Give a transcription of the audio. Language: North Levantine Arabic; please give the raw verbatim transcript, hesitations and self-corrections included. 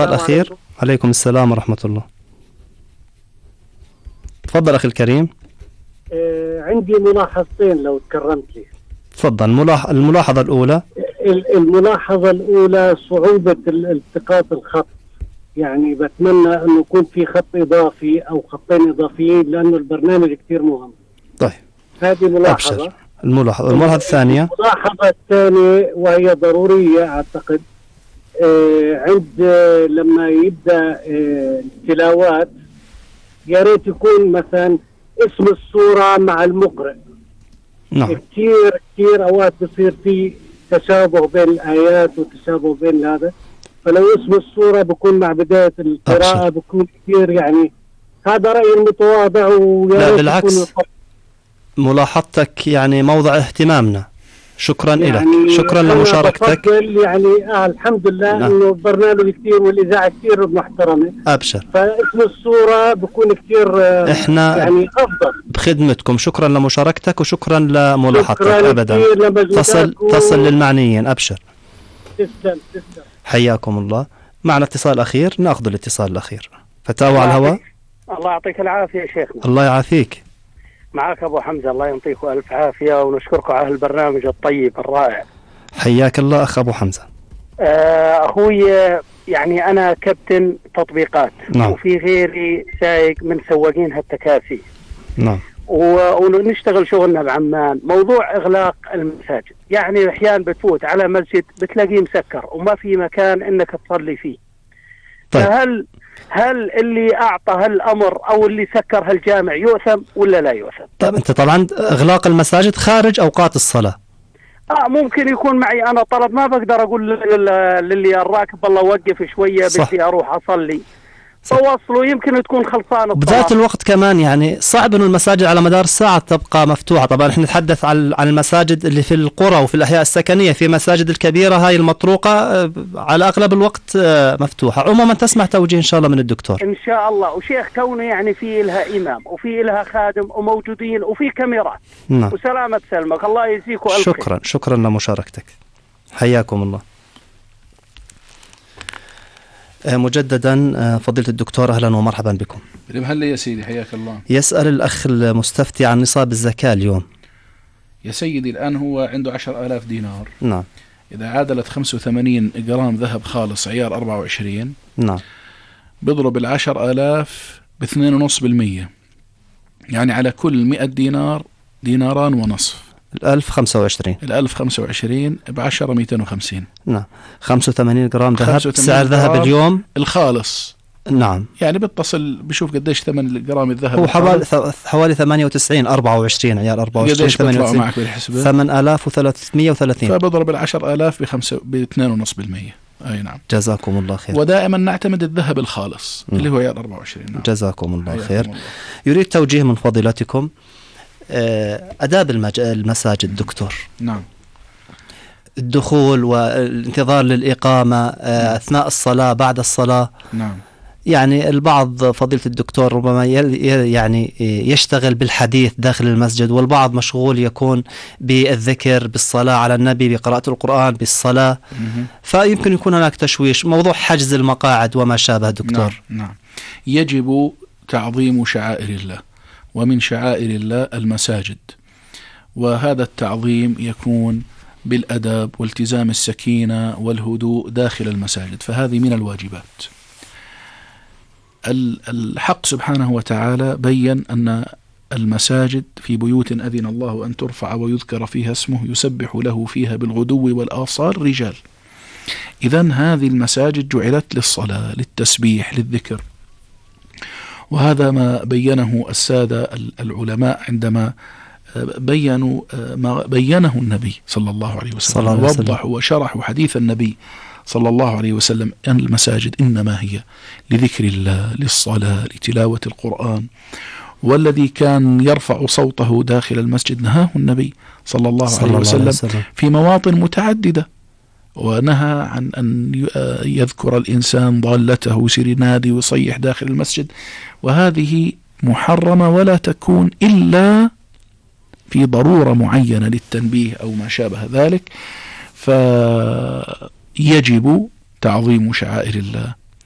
اتصال أخير. عليكم. عليكم السلام ورحمة الله. تفضل أخي الكريم. آه عندي ملاحظتين لو تكرمت لي. تفضل. ملاح... الملاحظة الأولى. الملاحظة الأولى صعوبة التقاط الخط، يعني بتمنى أنه يكون في خط إضافي أو خطين إضافيين لأنه البرنامج كتير مهم. طيب هذه ملاحظة. أبشر. الملاحظة الملاحظة الثانية. الملاحظة الثانية وهي ضرورية أعتقد، آه عند آه لما يبدأ آه التلاوات يا ريت يكون مثلا اسم السورة مع المقرئ. نعم. كثير كثير أوقات بصير في تشابه بين الآيات وتشابه بين هذا، فلو اسم السورة بكون مع بداية القراءة بكون كثير، يعني هذا رأيي المتواضع. لا بالعكس، ملاحظتك يعني موضع اهتمامنا. شكرا يعني لك، شكرا لمشاركتك. يعني آه الحمد لله نعم. انه البرنامج كثير والاذاعه كثير محترمه. ابشر. فاسم الصوره بكون كثير آه احنا يعني افضل. بخدمتكم. شكرا لمشاركتك وشكرا لملاحظتك. شكرا ابدا تصل و... تصل للمعنيين. ابشر. تسلم تسلم. حياكم الله. معنا اتصال اخير، ناخذ الاتصال الاخير. فتاوى على الهواء. الله يعطيك العافيه يا شيخنا. الله يعافيك. معك ابو حمزه، الله يعطيكم الف عافيه ونشكركم على البرنامج الطيب الرائع. حياك الله اخ ابو حمزه. آه اخوي، يعني انا كابتن تطبيقات. نعم. وفي غيري سايق من سواقين هالتكاسي. نعم. ونشتغل شغلنا بعمان. موضوع اغلاق المساجد، يعني احيانا بتفوت على مسجد بتلاقيه مسكر وما في مكان انك تصلي فيه. طيب. فهل هل اللي اعطى هالامر او اللي سكر هالجامع يؤثم ولا لا يؤثم؟ طيب انت طبعا اغلاق المساجد خارج اوقات الصلاه. اه ممكن يكون معي انا طلب، ما بقدر اقول للي الراكب والله وقف شويه بدي اروح اصلي، فوصلوا يمكن تكون خلصانه. بذات الوقت كمان يعني صعب انه المساجد على مدار الساعه تبقى مفتوحه. طبعا احنا نتحدث عن عن المساجد اللي في القرى وفي الاحياء السكنيه. في مساجد الكبيره هاي المطروقه على اغلب الوقت مفتوحه. عموما تسمع توجيه ان شاء الله من الدكتور. ان شاء الله. وشيخ كونه يعني في لها امام وفي لها خادم وموجودين وفي كاميرات. نعم. وسلامه سلمك، الله يجزيكم الف شكرا خير. شكرا لمشاركتك. حياكم الله. مجددا فضيلة الدكتور أهلا ومرحبا بكم. هلا يا سيدي، حياك الله. يسأل الأخ المستفتي عن نصاب الزكاة اليوم. يا سيدي الآن هو عنده عشر آلاف دينار. نعم. إذا عادلت خمسة وثمانين جرام ذهب خالص عيار أربعة وعشرين. نعم. بضرب العشر آلاف باثنين ونص بالمية، يعني على كل مئة دينار ديناران ونصف. الألف خمسة وعشرين. الألف خمسة وعشرين بعشرة مئتين وخمسين. نعم. خمسة وثمانين جرام ذهب. سعر ذهب اليوم الخالص. نعم. يعني بتصل بشوف قديش ثمن جرام الذهب. هو حوالي حوالي ثمانية وتسعين أربعة وعشرين عيار أربعة وعشرين ثمانية وتسعين معك بالحسبة ثمانية آلاف وثلاثمئة وثلاثين. فبضرب العشر آلاف بخمسة باثنين ونص بالمية. أي نعم. جزاكم الله خير. ودائما نعتمد الذهب الخالص. م. اللي هو عيار أربعة وعشرين. نعم. جزاكم الله خير. الله. يريد توجيه من فضيلتكم آداب المج... المساجد دكتور. نعم. الدخول والانتظار للإقامة أثناء الصلاة بعد الصلاة. نعم. يعني البعض فضيلة الدكتور ربما يعني يشتغل بالحديث داخل المسجد، والبعض مشغول يكون بالذكر بالصلاة على النبي بقراءة القرآن بالصلاة. مه. فيمكن يكون هناك تشويش. موضوع حجز المقاعد وما شابه دكتور. نعم. نعم. يجب تعظيم شعائر الله، ومن شعائر الله المساجد، وهذا التعظيم يكون بالأدب والتزام السكينة والهدوء داخل المساجد، فهذه من الواجبات. الحق سبحانه وتعالى بيّن أن المساجد في بيوت أذن الله أن ترفع ويذكر فيها اسمه يسبح له فيها بالغدو والآصال رجال. إذن هذه المساجد جعلت للصلاة، للتسبيح، للذكر. وهذا ما بيّنه السادة العلماء عندما بيّنوا ما بيّنه النبي صلى الله عليه وسلم، ووضحوا وشرحوا حديث النبي صلى الله عليه وسلم أن المساجد إنما هي لذكر الله، للصلاة، لتلاوة القرآن. والذي كان يرفع صوته داخل المسجد نهاه النبي صلى الله صلى عليه الله وسلم, وسلم في مواطن متعددة، ونهى عن أن يذكر الإنسان ضالته ويصير ينادي ويصيح داخل المسجد، وهذه محرمة ولا تكون إلا في ضرورة معينة للتنبيه أو ما شابه ذلك. فيجب تعظيم شعائر الله